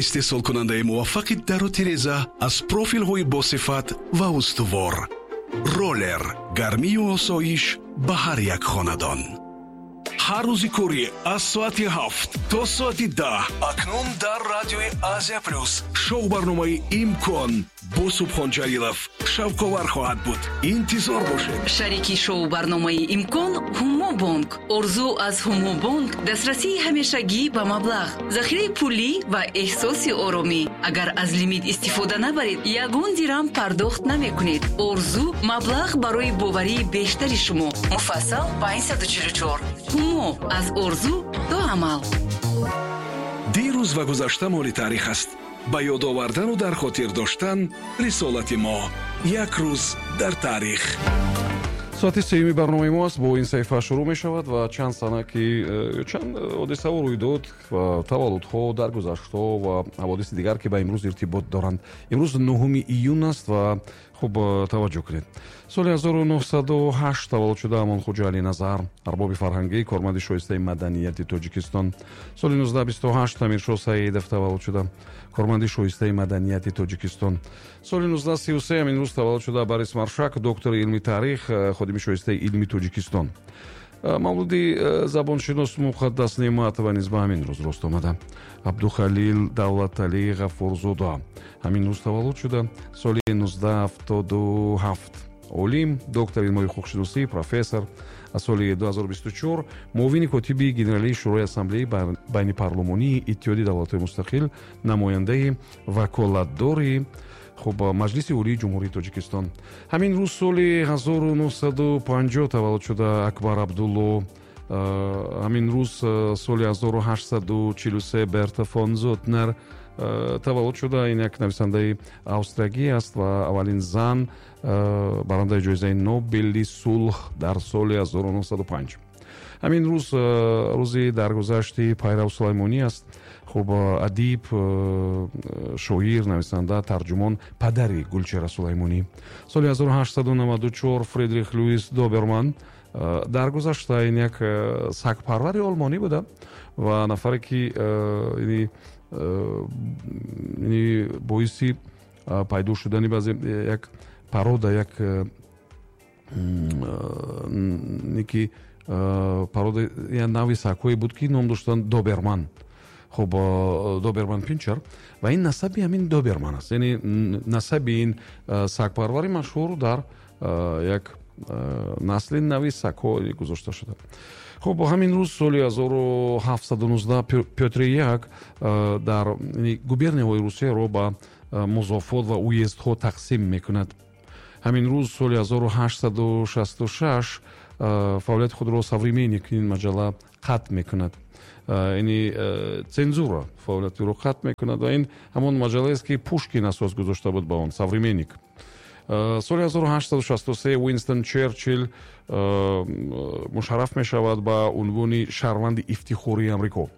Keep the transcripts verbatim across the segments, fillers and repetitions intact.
Истеҳсолкунандаи муваффақи дару тиреза аз профилҳои босифат ва устувор. Ролер, гармию осоиш ба ҳар як хонадон. Ҳар рӯзи корӣ аз соати ҳафт то соати даҳ акнун дар радиои Азия Плюс шоу барномаи «Имкон» бо Субҳон Ҷалилов шавқовар хоҳад буд. Интизор бошед. Шарики шоу барномаи «Имкон» Ҳумобонк. Орзу аз Ҳумобонк: дастрасии ҳамешагӣ ба маблағ, захираи пулӣ ва эҳсоси оромӣ. Агар аз лимит истифода набаред, ягон дирам пардохт намекунед. Орзу: маблағ барои боварии бештари шумо. Муфассал панҷсаду чилу чор. Ҳумо: аз орзу то амал. Дирӯз ва гузашта моли таърих аст. Ба ёд овардану дар хотир доштан рисолати мо. Як рӯз дар таърих. Соати сеюми барномаи мо аст, бо ин саҳифа шурӯъ мешавад ва чанд сана ки э, чанд ҳодисаву рӯйдод ва таваллудҳо, даргузаштҳо ва ҳаводиси дигар, ки ба имрӯз иртибот доранд. Имрӯз нуҳуми июн аст ва хуб, э, таваҷҷӯҳ кунед. Соли ҳазору нуҳсаду ҳашт таваллуд шуда Амонхоҷа Алиназар, арбоби фарҳангӣ, корманди шоистаи маданияти Тоҷикистон. Соли нуздаҳ бисту ҳашт Амиршоҳ Саидов таваллуд шуда, корманди шоистаи маданияти Тоҷикистон. Соли нуздаҳ сию се ҳамин рӯз таваллуд шуда Борис Маршак, доктори илми таърих, э, ходими шоистаи илми Тоҷикистон. э, мавлуди э, забоншинос Муқаддас Неъматова низ ба ҳамин рӯз рост омада. Абдухалил Давлаталӣ Ғафурзода ҳамин рӯз таваллуд шуда, соли нуздаҳ ҳафтоду ҳафт, олим, доктори илмҳои ҳуқуқшиносӣ, профессор. Аз соли ду ҳазору бисту чор муовини котиби генералии Шӯрои Ассамблеи Байнипарлумонии Иттиҳоди Давлатҳои Мустақил, намояндаи ваколатдори хуб Маҷлиси Олии Ҷумҳурии Тоҷикистон. Ҳамин рӯз соли ҳазору нуҳсаду панҷоҳ таваллуд шуда Акбар Абдулло. Ҳамин рӯз соли ҳазору ҳаштсаду чилу се Берта фон Зутнер таваллуд шуда. Ин як нависандаи австриягӣ аст ва аввалин зан, барандаи ҷоизаи Нобели сулҳ дар соли ҳазору нуҳсаду панҷ. Ҳамин рӯз рӯзи даргузашти Пайрав Сулаймонӣ аст. Хуб, адиб, шоир, нависанда, тарҷумон, падари Гулчера Сулаймонӣ. Соли ҳазору ҳаштсаду наваду чор Фридрих Луис Доберман даргузашта. Ин як сагпарвари олмонӣ буда ва нафаре ки боиси пайдо шудани баъзе як порода, як ки порода, як нави сагҳое буд, ки ном доштанд доберман. Хуб, доберман пинчер, ва ин насаби ҳамин Доберман аст, яъне насаби ин сагпарвари машҳур дар як насли нави сагҳо гузошта шуда. Хуб, ҳамин рӯз соли ҳазору ҳафтсаду нуздаҳ Пётри Як дар губернияҳои Русияро ба музофот ва уездҳо тақсим мекунад. Ҳамин рӯз соли ҳазору ҳаштсаду шасту шаш фаъолияти худро «Современник», ин маҷалла, қатъ мекунад, яъне цензура фаъолияти ӯро қатъ мекунад, ва ин ҳамон маҷаллаест, ки Пушкин асос гузошта буд ба он, «Современник». Соли ҳазору ҳаштсаду шасту се Уинстон Черчилл мушарраф мешавад ба унвони шаҳрванди ифтихории Амрико.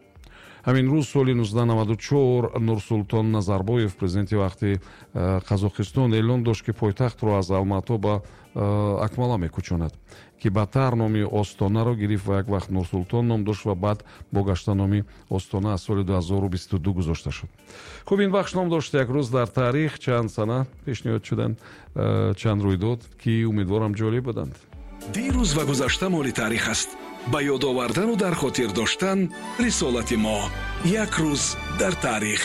Ҳамин рӯз соли нуздаҳ наваду чор Нурсултон Назарбоев, президенти вақти Қазоқистон, эълон дошт, ки пойтахтро аз Алмато ба Акмала мекӯчонад, ки баъдтар номи Остонаро гирифт ва як вақт Нурсултон ном дошт ва баъд бо гашта номи Остона аз соли ду ҳазору бисту ду гузошта шуд. Хуб, ин бахш ном дошт «Як рӯз дар таърих». Чанд сана пешниҳод шуданд, чанд рӯйдод, ки умедворам, ҷолиб буданд. Дирӯз ва гузашта моли таърих аст. Ба ёд овардану дар хотир доштан рисолати мо. Як рӯз дар таърих.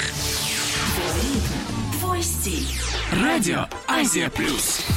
Радио Азия Плюс.